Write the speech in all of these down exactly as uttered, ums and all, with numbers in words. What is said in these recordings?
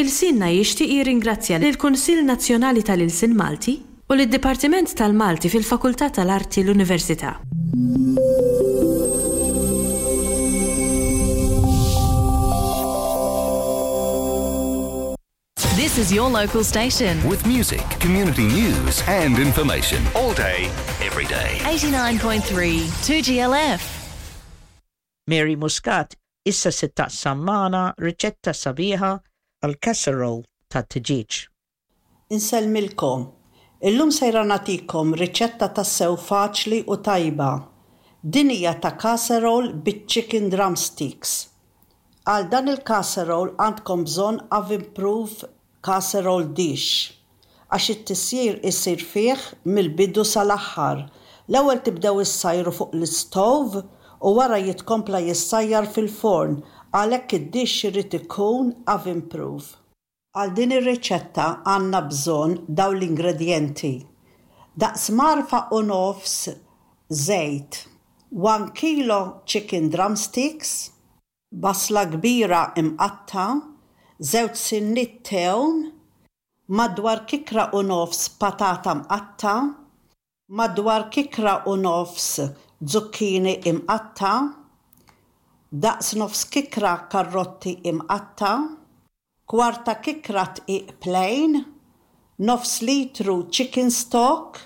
Ilsienna jixtieq jirringrazzja lill-Kunsill Nazzjonali tal-Ilsien Malti u lid-Dipartiment tal-Malti fil-Fakultà tal-Arti l-Università. This is your local station. With music, community news, and information all day, every day. eighty-nine point three two G L F. Mary Muscat issa se taqsam magħna riċetta sabiħa għal casserole ta' tiġieġ. Insellmilkom. Illum sejra nagħtikom riċetta tassew faċli u tajba. Din hija ta' casserole bit-chicken drumsticks. Għal dan il-casserole għandkom bżonn oven proof casserole dish, għax it-tisjir isir fih mill-bidu sal-aħħar. L-ewwel tibdew issajru fuq l-stove u wara jitkompla jissajjar fil-forn, għalhekk id-dish irid ikun oven proof. Għal din ir-riċetta għandna bżonn dawn l-ingredjenti: daqs mgħarfa u nofs żejt, one kilo chicken drumsticks, basla kbira imqatta', żewġ sinniet tewm, madwar kikra u nofs patata mqatta', madwar kikra u nofs zucchini imqatta', daqs nofs kikra karrotti imqatta', kwarta kikra dqiq plain, nofs litru chicken stock,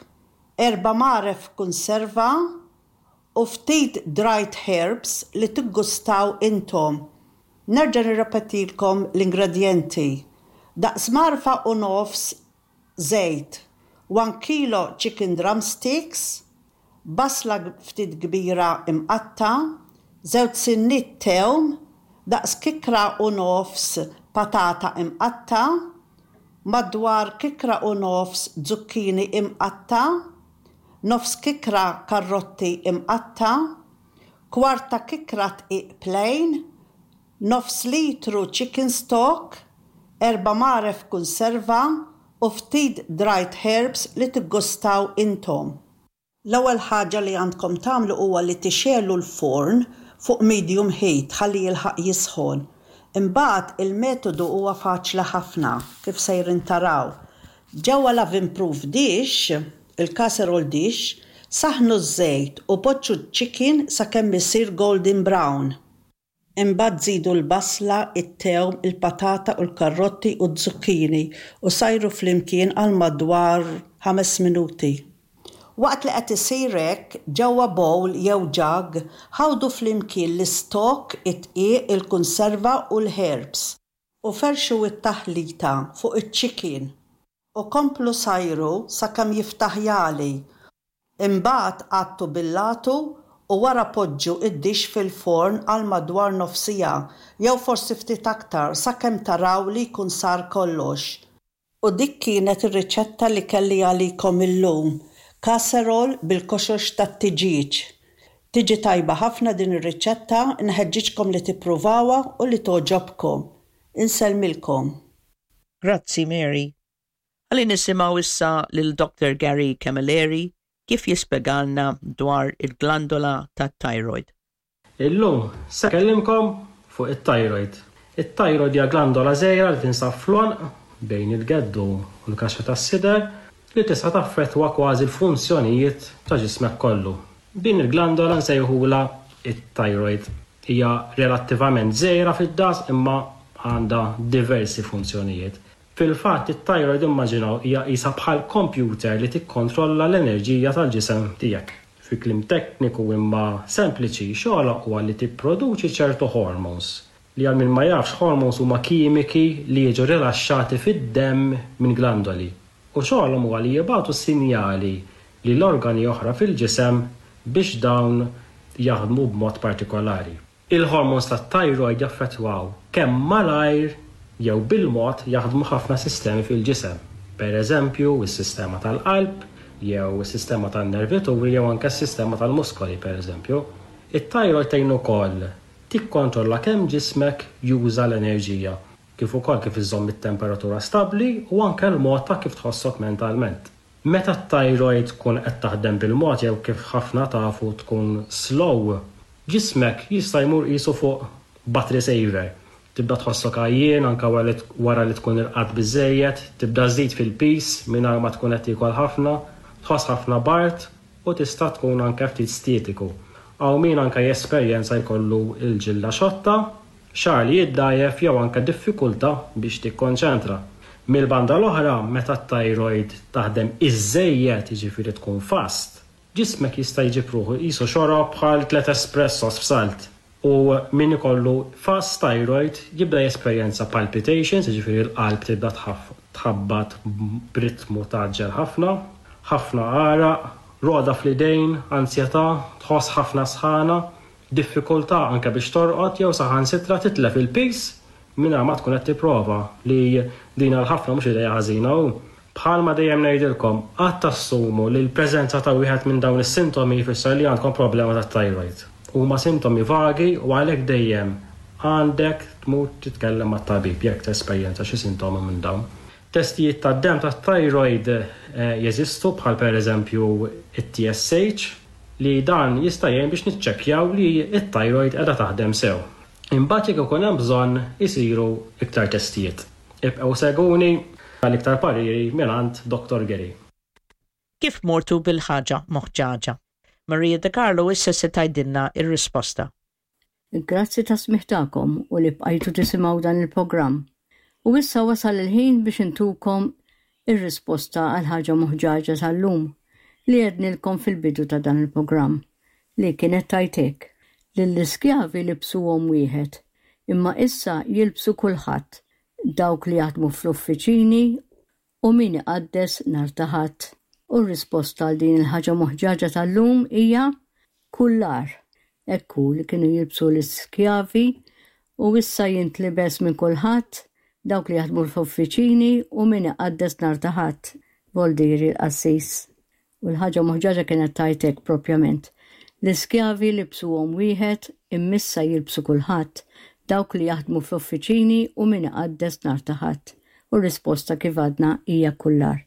erba' mgħaref konserva u ftit dried herbs li tiggustaw intom. Nerġa' nirrepetilkom l-ingredjenti: daqs mgħarfa u nofs żejt, one kilo chicken drumsticks, basla ftit kbira imqatta', żewġ sinniet tewm, daqs kikra u nofs patata imqatta', madwar kikra u nofs zucchini imqatta', nofs kikra karrotti imqatta', kwarta kikra dqiq plain, nofs litru chicken stock, erba' mgħaref konserva u ftit dried herbs li tiggustaw intom. L-ewwel ħaġa li għandkom tagħmlu huwa li tixegħlu l-forn fuq medium heat ħalli jilħaq jisħon. Imbagħad il-metodu huwa faċli ħafna, kif sejrin taraw. Ġewwa l-oven proof dish, il-casserole dish, saħnu ż-żejt u poġġu chicken sakemm isir golden brown. Imbagħad żidu l-basla, it-tewm, il-patata u l-karrotti u z-zucchini u sajru flimkien għal madwar ħames minuti. Waqt li qed isir hekk, ġewwa bowl jew jug, ħawdu flimkien l-istok, id-dqiq, il-konserva u l-herbs. U ferxu it-taħlita fuq iċ-chicken u komplu sajru sakemm jiftaħ jagħli. Imbagħad għattu bil-għatu u wara poġġu id-dish fil-forn għal madwar nofs siegħa jew forsi ftit aktar, sakemm taraw li jkun sar kollox. U dik kienet ir-riċetta li kelli għalikom illum. Casserole bil-koxox tat-tiġieġ. Tiġi tajba ħafna din ir-riċetta, nħeġġiġkom li tippruvawha u li togħġobkom. Insellmilkom. Grazzi, Mary. Ħalli nisimgħu issa lil Doctor Gary Camilleri kif jispjegalna dwar il-glandola tat-thyroid. Illum se nkellimkom fuq it-thyroid. It-thyroid hija glandola żgħira li tinsab fl-għonq bejn il-geddu u l-kaxxa tas-sider li tista' taffettwa kważi l-funzjonijiet ta' ġismek kollu. Din il-glandola nsejħula it-thyroid. Hija relattivament żgħira fid-daqs imma għandha diversi funzjonijiet. Fil-fatt, it-thyroid, immaġinaw, hija qisha bħal computer li tikkontrolla l-enerġija tal-ġisem tiegħek. Fi kliem tekniku imma sempliċi, xogħolha huwa li tipproduċi ċertu hormones, li għal min ma jafx, hormones huma kimiki li jiġu rilaxxati fid-demm minn glandoli. U xogħolhom huwa li jibagħtu sinjali li l-organi oħra fil-ġisem biex dawn jaħdmu b'mod partikolari. Il-hormones tat-thyroid jaffettwaw kemm malajr jew bil-mod jaħdmu ħafna sistemi fil-ġisem. Per eżempju, is-sistema tal-qalb, jew is-sistema tan-nervituri, jew anke s-sistema tal-muskoli, per eżempju. It-thyroid tgħin ukoll tikkontrolla kemm ġismek juża l-enerġija, kif ukoll kif iżomm it-temperatura stabbli u anke l-mod ta' kif tħossok mentalment. Meta t-thyroid tkun qed taħdem bil-mod jew, kif ħafna tafu, tkun slow, ġismek jista' jmur qisu fuq battery saver. Tibda tħossok għajjien anke wara li tkun irqadt biżejjed, tibda żżid fil-piż mingħajr ma tkun qed tiekol ħafna, tħoss ħafna bard u tista' tkun anke ftit stitiku. Hawn min anke jesperjenza jkollu l-ġilda xotta, xagħar li jiddgħajjef jew anke diffikultà biex tikkonċentra. Mill-banda l-oħra, meta t-thyroid taħdem iżżejjed, jiġifieri tkun fast, ġismek jista' jġib ruħu qisu xorob bħal tliet espressos f'salt. U min ikollu fast thyroid jibda jesperjenza palpitations, jiġifieri l-qalb tibda tħabbat b'ritmu tgħaġġel ħafna, ħafna għaraq, rogħda fl-idejn, ansjetà, tħoss ħafna sħana, diffikultà anke biex torqod jew saħansitra titlef il-piż mingħajr ma tkun qed tipprova, li din għal ħafna mhux idea ħażina u bħalma dejjem ngħidilkom, qatt tassumu li l-preżenza ta' wieħed minn dawn is-sintomi jfisser li għandkom problema tat-thyroid. Huma sintomi vagi u għalhekk dejjem għandek tmur titkellem mat-tabib jekk tesperjenza xi sintomi minn dawn. Testijiet tad-demm tat-thyroid jeżistu bħal pereżempju it-T S H, li dan jista' jgħin biex niċċekkjaw li t-thyroid qiegħda taħdem sew. Imbagħad jekk ikun hemm bżonn isiru iktar testijiet. Ibqgħu segwuni għal iktar pariri mingħand Doctor Gary. Kif mortu bil-ħaġa moħġaġa? Maria De Carlo issa se tgħidilna ir-risposta. Grazzi tas-smigħ tagħkom u li bqajtu tisimgħu dan il-programm. U issa wasal il-ħin biex intukom ir-risposta għal ħaġa moħġaġa tal-lum li għednilkom fil-bidu ta' dan il-programm, li kienet tgħid hekk: Lill-iskjavi libsuhom wieħed, imma issa jilbsu kulħadd, dawk li jaħdmu fl-uffiċini u min iqaddes nhar ta' Ħadd. U r-risposta għal din il-ħaġa moħġaġa tal-lum hija kullar. Ekku li kienu jilbsu l-iskjavi u issa jintlibes minn kulħadd, dawk li jaħdmu fl-uffiċini u min iqaddes nhar ta' Ħadd, voldiri l-qassis. U l-ħaġa moħġaġa kienet tgħid hekk propjament: L-iskjavi libsuhom wieħed, imma issa jilbsu kulħadd, dawk li jaħdmu fl-uffiċini u min iqaddes nhar ta' Ħadd. U r-risposta, kif għadna, hija kullar.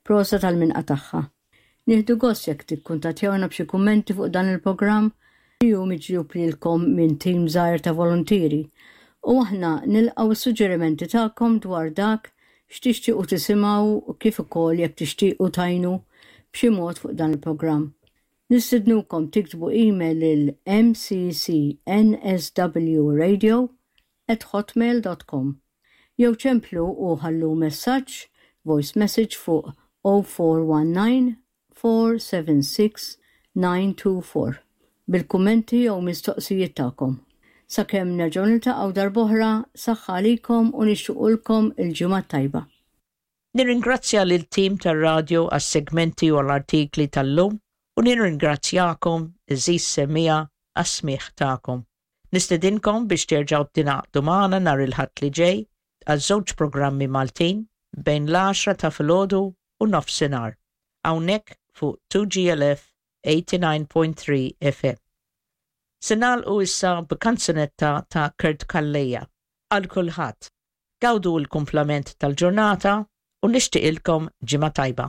Prosit għal min qatagħha. Nieħdu gost jekk tikkuntattjawna b'xi kummenti fuq dan il-programm li hu miġjub lilkom minn tim żgħir ta' volontieri. U aħna nilqgħu s-suġġerimenti tagħkom dwar dak x'tixtiequ tisimgħu u kif ukoll jekk tixtiequ tgħinu b'xi mod fuq dan il-programm. Nistidnukom tiktbu email lil M C C N S W radio at hotmail dot com jew ċemplu u ħallu messaġġ, voice message, fuq zero four one nine four seven six nine two four bil-kummenti jew mistoqsijiet tagħkom. Sakemm nerġgħu niltaqgħu darb'oħra, saħħa għalikom u nixtiequlkom il-ġimgħa tajba. Nirringrazzja lil tim tar-radio għas-segmenti u l-artikli tal-lum u nirringrazzjakom, għeżież semmiegħa, għas-smigħ tagħkom. Nistedinkom biex terġgħu tingħaqdu magħna nhar il-Ħadd li ġej għal żewġ programmi Maltin bejn l-għaxra ta' filgħodu u nofsinhar. Hawnhekk fuq two G L F eighty-nine point three F M. Se nagħlqu issa b'kanzunetta ta' Kurt Calleja għal kulħadd. Gawdu l-kumplament tal-ġurnata u nixtieqilkom ġimgħa tajba.